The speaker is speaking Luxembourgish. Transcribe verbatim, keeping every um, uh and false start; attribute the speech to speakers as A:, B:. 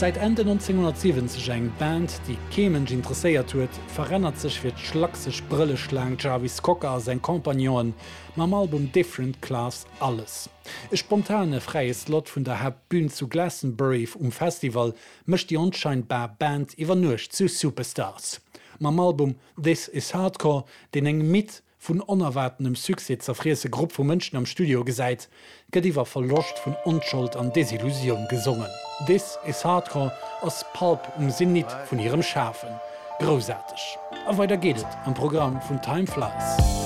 A: Säit Enn neunzehnhundertsiwwenzeg eng Band, déi kee Mënsch interesséiert huet, verännert sech fir d'schlakseg Brëlleschlaang Jarvis Cocker a seng Compagnonen mam Album Different Class alles. E spontane fräie Slot vun der Haaptbün zu Glastonbury um Festival mécht déi onscheinbar Band iwwer Nuecht zu Superstars. Mam Album This Is Hardcore, deen eng midd, vun onerwaartenem Succès zerfriesse Grupp vu Mënschen am Studio gesäit, gëtt iwwer Verloscht vun Onschold an Desillusioun gesongen. This Is Hardcore ass Pulp um Zenit vun hirem Schafen. Groussaarteg. A weider geet et am Programm vun Time Flies.